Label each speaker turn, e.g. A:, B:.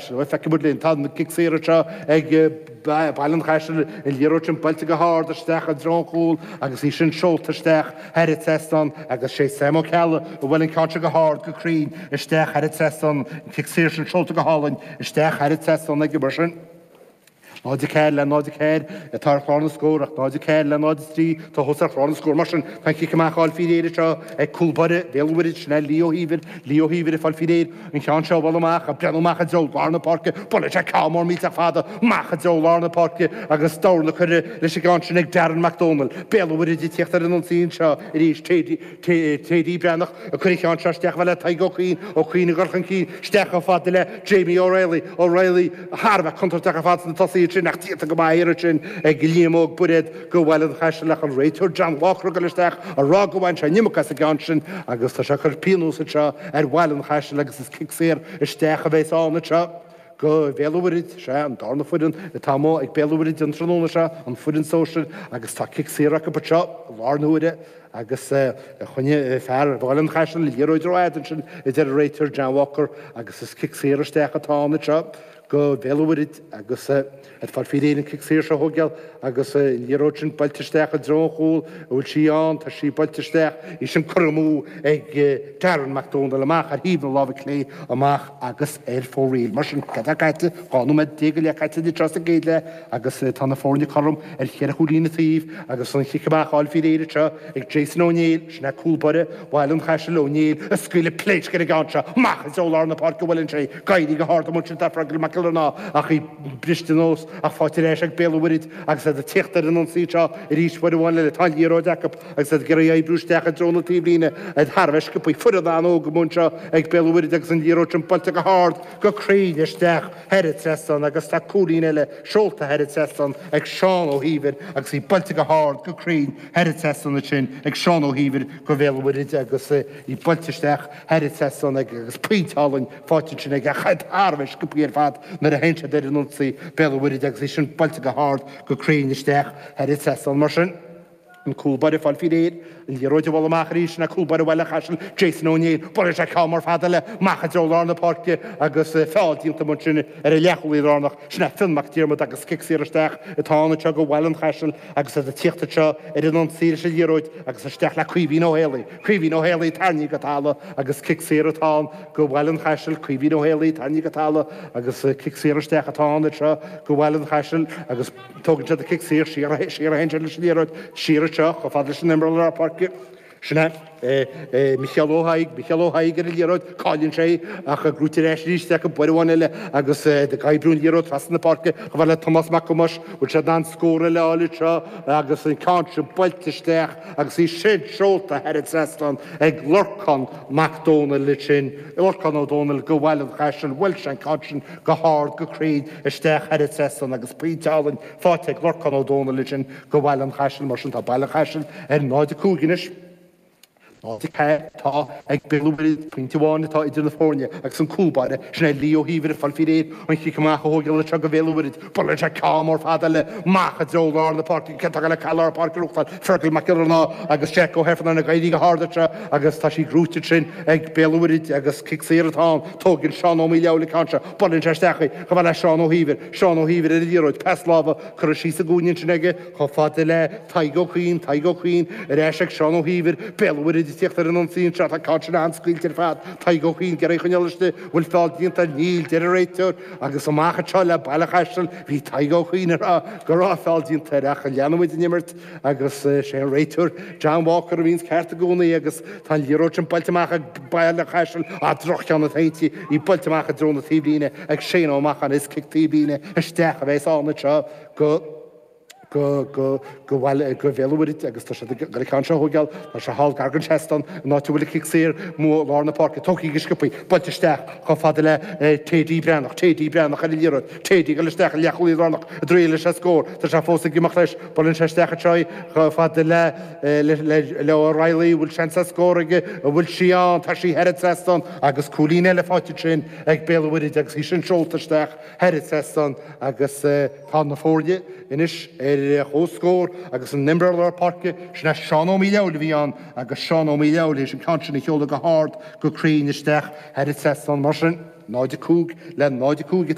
A: Chaisil. Bhuel, feicfidh muid linn. Tá an cic saor anseo ag Baile an Chaisil, an liathróid sin buailte go hard isteach i dtreo an chúil agus í sin seolta isteach thar an trasnán agus sé Sam Ó Ceallaigh a bhuail an ceann seo go hard go cruinn isteach thar an trasnán, an cic saor sin seolta go hálainn isteach thar an trasnán aige mar sin. 0-4 le 0-4 atá ar chlár na scór ach 0-4 le 0-3 atá thuas ar chlár na scór. Mar sin, tá an cic amach á fháil faoi réir anseo ag cúl báire Bhéal an Mhuirthead, sin é Lee Ó hÍomhair. Lee Ó hÍomhair ag fáil faoi réir an ceann seo a bhualadh amach, ag breathnú amach i dtreo lár na páirce. Buaileann sé ceann mór millteach fada amach i dtreo lár na páirce agus dorn curtha leis an gceann sin ag Darren Mac Dónaill. Béal an Mhuirthead ag tíocht ar an ionsaí anseo arís. Teidí Breathnach ag cur an cheann seo isteach chomh fada le Tadhg Ó Cuinn, Ó Cuinn ag dul chun cinn, isteach chomh fada le Jamie O'Reilly, O'Reilly thar a bheith contúirteach ar fad sna tosaithe ansin ach déanta go maith thiar ansin ag Liam Óg Bairéad go Bhaile an Chaisil ach an réiteoir John Walker ag dul isteach ag rá go bhfaigheann sé an iomarca as an gceann sin agus tá sé ag cur pionós anseo ar Bhaile an Chaisil agus is cic saor isteach a bheas ann anseo. Go Bhéal an Mhuirthead, sea, an darna foireann atá amuigh ag Béal an Mhuirthead an tráthnóna seo, an foireann sóisir, agus tá cic saor acu anseo i lár na huaire agus choinnigh fear Bhaile an Chaisil an liathróid rófhada ansin, a deir an réiteoir John Walker, agus is cic saor isteach atá ann anseo go Bhéal an Mhuirthead agus ag fáil faoi réir an cic saor seo a thógáil agus an liathróid sin buailte isteach i dtreo an chúil, an bhfuil sí ann, tá sí buailte isteach, í sin curtha amú ag Darren Mac Dónaill amach ar thaobh na láimhe clé amach agus ar fóraoil. Mar sin, cad tá caite? 12 nóiméad go leith caite anseo sa gcéad leath agus tá na foirne cothrom ar cheithre chúilín an taobh agus an chic amach á fháil faoi réir anseo ag Jason Ó Néill, sin é cúl báire Bhaile an Chaisil, Ó Néill ag scaoileadh pléasc ar an gceann seo amach i dtreo lár na páirce a bhuaileann sé, ag éirí go hard amuigh ansin tá Fergal Mac Giollarnáth ach í briste anuas ach faighte ar ais ag Béal an Mhuirthead agus iad ag tíocht ar an ionsaí anseo arís uair amháin eile. Tá an liathróid acu agus iad ag iarraidh oibriú isteach i dtreo na taobhlíne, iad thar a bheith sciobtha, foireann an-óg amuigh anseo ag Béal an Mhuirthead agus an liathróid sin buailte go hard go cruinn isteach thar an trasnán agus tá cúilín eile seolta thar an trasnán ag Seán Ó hÍomhair agus í buailte go hard go cruinn thar an trasnán ansin ag Seán Ó hÍomhair go Bhéal an Mhuirthead agus í buailte isteach thar an trasnán aige agus pointe álainn faighte ansin aige ach iad thar a bheith sciobtha ar fad nuair a théann siad ar an ionsaí Béal an Mhuirthead agus í sin buailte go hard go cruinn isteach thar an trasnán mar sin. An cúl báire ag fáil faoi réir, an liathróid a bhualadh amach arís, sin é cúl báire Bhaile an Chaisil, Jason Ó Néill, buaileann sé ceann mór fada eile amach i dtreo lár na páirce agus feall déanta amuigh ansin ar an leathchúlaí lárnach, sin é Fionn Mac Diarmada agus cic saor isteach atá ann anseo go Bhaile an Chaisil agus iad ag tíocht anseo ar an ionsaí leis an liathróid agus isteach le Caoimhín Ó Héalaí. Caoimhín Ó Héalaí tarraingthe go talamh agus cic saor atá ann go Bhaile an Chaisil, Caoimhín Ó Héalaí tarraingthe go talamh agus cic saor isteach atá ann anseo go Bhaile an Chaisil agus Tógann siad an cic saor, siar a théann siad leis an liathróid, siar anseo, chomh fada leis an imreoir lár páirce. Sin é Micheál Ó hAodha, Micheál Ó hAodha ar an liathróid, cailleann sé í, ach gnóite ar ais arís acu, uair amháin eile agus ag oibriú an liathróid trasna na páirce, chomh fada le Tomás Mac Thomáis, bhfuil siad in ann scór eile a fháil anseo agus an ceann sin buailte isteach agus í sin seolta thar an trasnán ag Lorcán Mac Dónaill ansin, Lorcán Ó Dónaill go Bhaile an Chaisil, bhuail sé an ceann sin go hard go cruinn isteach thar an trasnán agus pointe álainn faighte ag Lorcán Ó Dónaill ansin go Bhaile an Chaisil. Mar sin tá Baile an Chaisil ar 0-5 anois. 0-4 atá ag Béal an Mhuirthead, pointe amháin atá idir na foirne agus an cúl báire, sin é Lee Ó hÍomhair ag fáil faoi réir an chic amach a thógáil anseo go Bhéal an Mhuirthead. Buaileann sé ceann mór fada eile amach i dtreo lár na páirce, cé atá le lár páirce a ghnóthachtáil? Fergal Mac Giollarnáth agus Jack Ó hEifearnáin ag éirí go hard anseo agus tá sí gnóite ansin ag Béal an Mhuirthead agus cic saor atá ann. Tógann Seán Ó Maoileabhail an ceann seo. Buaileann sé isteach í, chomh fada le Seán Ó hÍomhair. Seán Ó hÍomhair ar an liathróid, pas láimhe curtha síos sa gcúinne ansin aige, chomh fada le Tadhg Ó Cuinn. Tadhg Ó Cuinn ar ais ag Seán Ó hÍomhair. Béal an Mhuirthead ag tíocht ar an ionsaí anseo. Tá an ceann sin an-scaoilte ar fad. Tadhg Ó Cuinn ag iarraidh a choinneáil istigh. Bhfuil feall déanta air? Níl, deir an réiteoir. Agus amach anseo le Baile an Chaisil. Bhí Tadhg Ó Cuinn ag rá go raibh feall déanta air ach leanfaidh muid an imirt. Agus sé an réiteoir John Walker a bhíonns ceart i gcónaí agus tá an liathróid sin buailte amach ag Baile an Chaisil, ah droch-cheann atá inti, í buailte amach i dtreo na taobhlíne ag Shane Ó Macháin, is cic taobhlíne isteach a bheas ann anseo go go go go bhaile go Bhéal an Mhuirthead agus tá siad ag dul an ceann seo a thógáil, tá sé thall gar don seastán an áit a bhfuil an cic saor amuigh i lár na páirce, tógtha go sciobtha, buailte isteach chomh fada le Teddy Breathnach, Teddy Breathnach ar an liathróid, Teddy ag dul isteach i leathchúlaí lárnach ag triail leis an scór, tá sé fós ag imeacht leis. Buaileann sé isteach anseo í chomh fada le le O'Reilly, an bhfuil seans ar scór aige, an bhfuil sí ann, tá sí thar an trasnán agus cúilín eile faighte ansin ag Béal an Mhuirthead agus í sin seolta isteach thar an trasnán agus tá na foirne anois ar chomhscór agus an imreoir lár páirce, sin é Seán Ó Maoileabhail a bhí ann agus Seán Ó Maoileabhail théis an ceann sin a sheoladh go hard go cruinn isteach thar an trasnán mar sin 0-5 le 0-5.